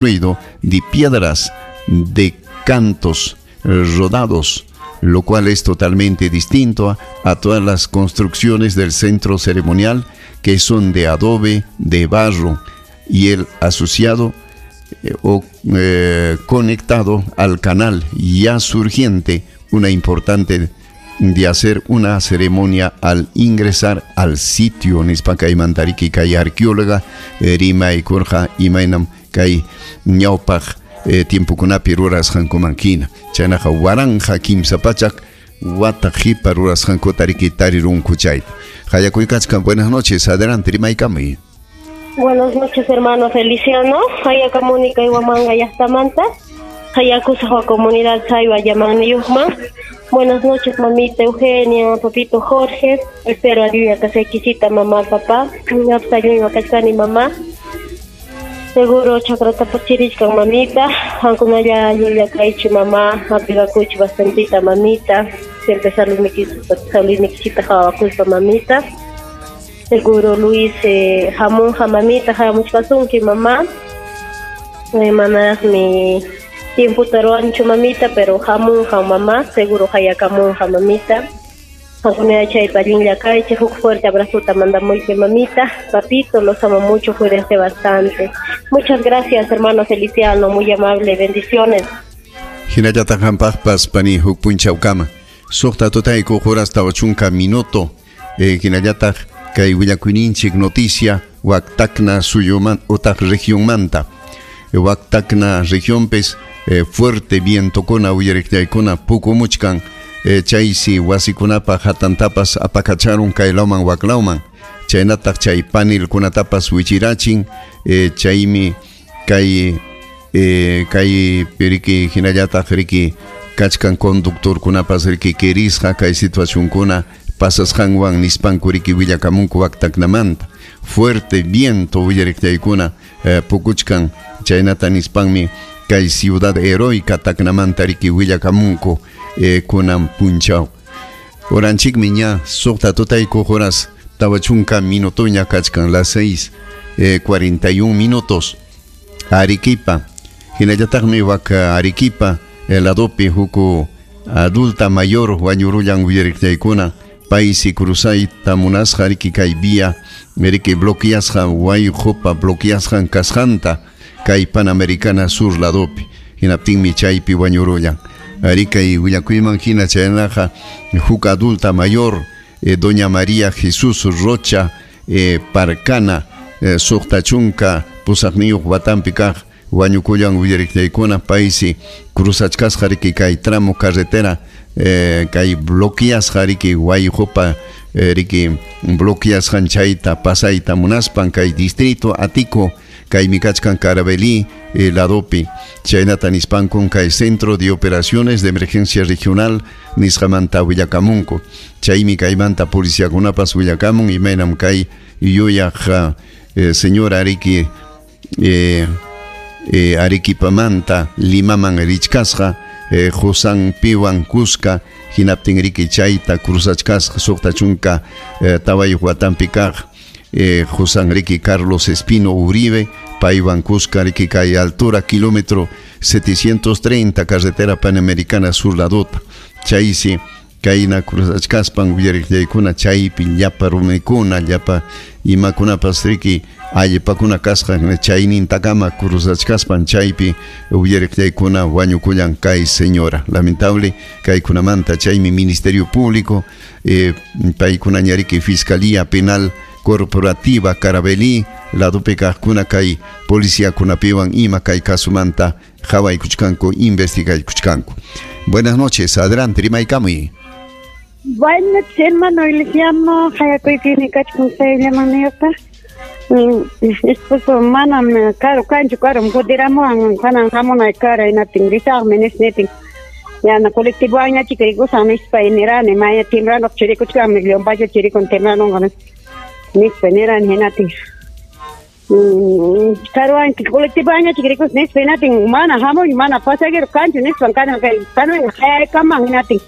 Construido de piedras de cantos rodados, lo cual es totalmente distinto a todas las construcciones del centro ceremonial, que son de adobe, de barro, y el asociado o conectado al canal ya surgiente, una importante de hacer una ceremonia al ingresar al sitio, nispa kaymanta riki kay arqueóloga rimaykurqa imaynam kay ñawpaq tiempokunapi rurasqankuman hina. Chaynaqa 1300 wata qipa rurasqankuta riki tarirunku chayta. Hayakuykachkan, buenas noches, adelante, rimaykamuy. Buenas noches, hermano Feliciano. Hayakamuni kay Huamanga llaqtamanta. Hayakusaq comunidad Saywa llamaniyuqman. Buenas noches, mamita Eugenia, papito Jorge. Espero a Dios que se quisita mamá, papá. Kachkani mamá. Seguro chakrata pachirichkan mamita. Hankunalla llulla kaychi mamá. Apigakuchi bastantita mamita. Siempre saludnikisita hawakuspa mamita. Seguro Luis hamunja mamita, hamuchkasunki mamá. Manaraqmi tiempo taruanchu mamita, pero hamunja mamá, seguro hayakamunja mamita. Hankunalla chaypa allinlla kaychi, huk fuerte abrazo mandamuyki mamita. Papito, los amo mucho, cuídense bastante. Muchas gracias, hermano Feliciano, muy amable, bendiciones. Hinallataq hampaqpas pani huk punchawkama. Suqta tutayku horas 40 minuto. Hinallataq kay willakuyninchik noticia Huactacna suyuman utaq regionmanta. Huactacna regionpis fuerte vientokuna uyariqllaykuna pukumuchkan, chaysi wasikunapa hatantapas apakacharun kaylawman waklawman. Chaynataq chay panelkunatapas wichirachin, chaymi kay kay riki hinallataq riki kachkan conductorkunapas riki kirisqa kay situacionkuna pasasqanwan nispanku riki willakamunku Huactacnamanta. Fuerte viento uyariqllaykuna pukuchkan, chaynata nispanmi kay ciudad heroica Tacnamanta riki willakamunku kunan punchaw. Oranchikmi ña suqta tutayku horas 40 minutoña kachkan, las 6:41 minutos. Arequipa, hinallataqmi wak Arequipa ladopi huku adulta mayor wañurullan uyariqllaykuna, paysi cruzayta munasqa riki kay vía riki bloqueasqa wayqupa bloqueasqan kasqanta kay Panamericana Sur ladopi, hinaptinmi chaypi wañurullan. Arikay willakuyman hina chaynaqa huk adulta mayor doña María Jesús Rocha Parcana 68 watanpi kaq wañukullan uyariqllaykuna, paysi cruzachkasqa riki kay tramo carretera kay bloqueasqa riki wayqupa riki bloqueasqan chayta pasayta munaspan kay distrito Atico kaymi kachkan Carabelí ladopi. Chaynata nispankun kay Centro de Operaciones de Emergencia Regional nisqamanta willakamunku. Chaymi kaymanta policiakunapas willakamun imaynam kay yuyaq señora riki Arequipamanta Limaman richkasqa Josan piwan kuska hinaptin riki chayta cruzachkasqa 64 watanpi kaq Josan riki Carlos Espino Uribe paywan kuska riki kay altura kilómetro 730 carretera Panamericana Sur ladota. Chaysi kayna cruzachkaspan uyariqllaykuna chaypi llapa rumikuna llapa imakunapas riki allpakuna kasqa chaynintakama cruzachkaspan chaypi uyariqllaykuna wañukullan kay señora. Lamentable kaykunamanta chaymi Ministerio Público paykunaña riki Fiscalía Penal Corporativa Carabelí ladopi kaqkuna kay policiakunapiwan ima kay kasumanta qhawaykuchkanku investigaykuchkanku. Buenas noches, adelante, rimaykamuy. Buenas noches, hermano Feliciano, hayakuykini kachkan sayllamaniyuqta. Esposo manam karu kanchu karum kutiramuwan kanan hamunay kara hinaptin risaqmi nisnitin. Yana colectivo chikrikusaq nispa nirani maya timbrano chirikuchkanmi Leompacha chirikun tembrano nispa nirani hinatin. Karuwan colectivo chikrikus nispa hinatin mana hamuy mana pasajero kanchu nispan kanan kanan hayakaman hinatin.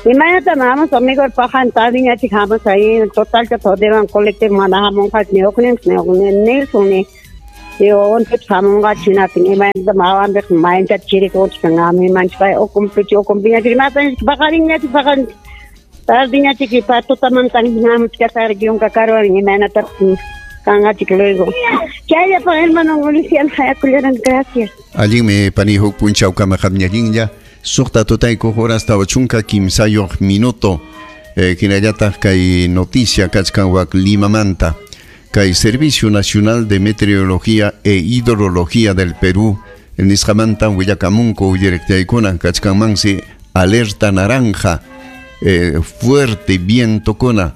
Imaynata hamus amigo pajan tadiñachik hamus ahí total que todevan colectivo mana hamun ni oknin ni Nelson ni Yo onte hamunqa chinatin imaynata mawanpiq mayanta chirikuchkan ami manchpay ukumpichi ukumpiñachik matan paqarinñachik paqarin tardiñachik pa tutamantan hamuchkasaqriki yunka karuwan imaynata kanqachik luego. Chayllapaq hermano Luciano hayakullaran, gracias. Allinmi pani huk punchawkama qamñallinlla suqta tutaykuq horas 43 minuto. Hinallataq kay noticia kachkan wak Limamanta. Kay Servicio Nacional de Meteorología e Hidrología del Perú nisqamanta willakamunku uyariqtaykuna kachkanmansi alerta naranja, fuerte viento kuna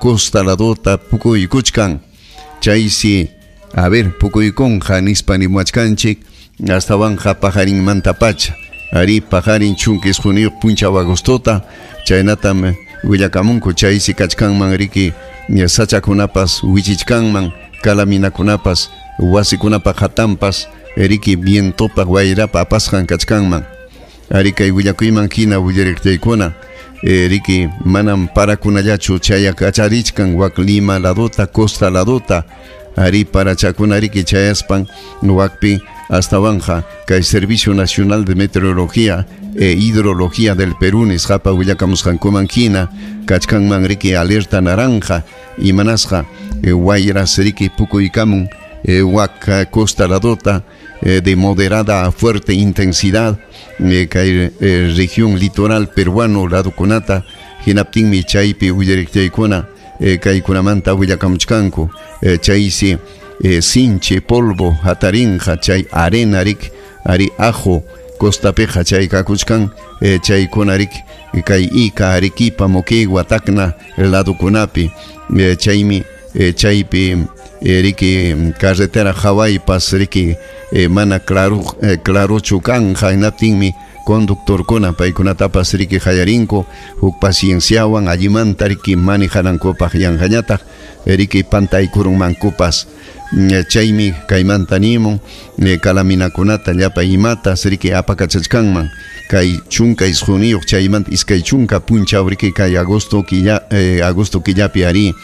costa ladota pukuykuchkan. Chaysi a ver pukuykunqa nispa nimuachkanchik astawanqa pajarinmanta pacha. Ari pajarin chunka isquniyuq punchaw agostota chaynatam willakamunku chaysi kachkanman riki sachakunapas wichichkanman kalaminakunapas wasikunapa hatanpas riki vientopa wayrapa apasqan kachkanman. Ari kay willakuyman hina willariqtaykuna riki manam parakunallachu chayakacharichkan wak Lima ladota costa ladota ari parachakuna riki chayaspan wakpi astawanja kay Servicio Nacional de Meteorología e Hidrología del Perú nisqapa willakamusqankuman hina kachkanman riki alerta naranja imanasqa wayras riki pukuykamun wak costa ladota de moderada a fuerte intensidad kay región litoral peruano ladokunata hinaptinmi chaypi willariqtaykuna kaykunamanta willakamuchkanku chaysi sinchi polvo hatarinqa chay arena rik ari ajo costapiqa chay kakuchkan chaykuna rik kay Ica Arequipa Moquegua Tacna ladokunapi chaymi chaypi riki carretera hawaypas riki mana claro clarochu kanja hinaptinmi conductorkuna paykunatapas riki hayarinku huk pacienciawan allimanta riki manejanankupaq yanqañataq riki pantaykurunmankupas chaymi kaymanta nimun kalaminakunata llapa imata riki apakachachkanman kay chunka isquniyuq chaymanta iskay chunka punchaw riki kay agosto killa agosto killapi ari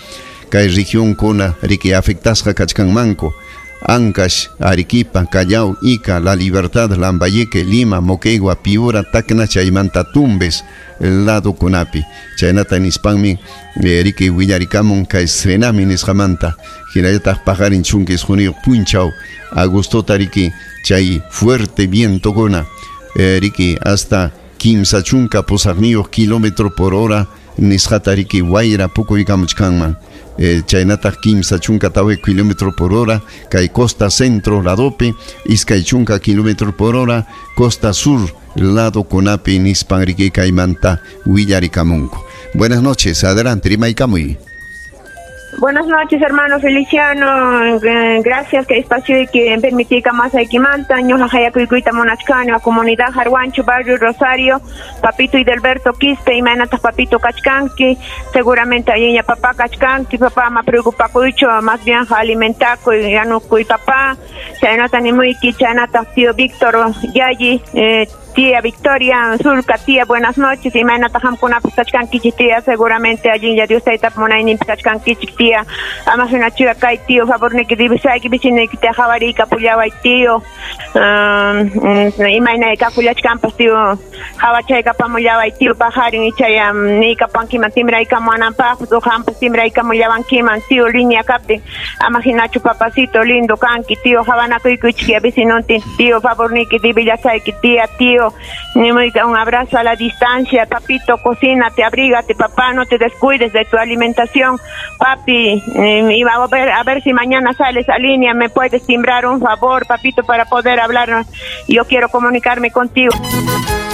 kay regionkuna riki afectasqa kachkanmanku Ancash, Arequipa, Callao, Ica, La Libertad, Lambayeque, Lima, Moquegua, Piura, Tacna, chaymanta Tumbes, lado kunapi. Chaynata nispanmi riki willarikamun kay Senami nisqamanta. Hinallataq paqarin chunka isquniyuq punchaw agostota riki chay fuerte viento kuna riki hasta kimsa chunka pusaqniyuq kilómetro por hora nisqata riki wayra pukuykamuchkanman. Chaynataq kimsa chunka tawa kilómetro por hora kay costa centro ladopi iskay chunka kilómetro por hora costa sur lado kunapi nispan riki kaymanta willarikamunku. Buenas noches, adelante rimaykamuy. Buenas noches, hermano Feliciano. Gracias que espacio y que permití que más aquí manta. Ñoja hayakuyta munachkani, a comunidad Jarhuancho, barrio Rosario, papito Idelberto Quispe, imaynataq papito kachkanki, seguramente allinlla papá kachkanki, papá ama preocupakuychu, más bien alimentakuy, yanukuy papá, chaynata nimuyki, chaynataq tío Víctor Yayi, tía Victoria Zulka, tía, buenas noches. Imaynataq qamkunapas kachkankichik, tía, seguramente allinlla Dios taytapa munayninpi kachkankichik, tía. Ama hinachuya kay tío, favorniki divisayki, vecinoykita qhawariykapullaway, tío. Imaynay kakullachkanpas, tío, qhawachaykapamullaway, tío, pajarin ichaya niykapankiman timbraykamuwananpaqpas o qampas timbraykamullawankiman, tío, línea kaptin. Ama hinachu papacito lindo kanki, tío, qhawanakuykuchik vecinontin, tío, favorniki divillasayki, tía, tío. Un abrazo a la distancia, papito, cocínate, abrígate, papá, no te descuides de tu alimentación, papi, y a ver si mañana sales a línea, me puedes timbrar un favor, papito, para poder hablar, yo quiero comunicarme contigo.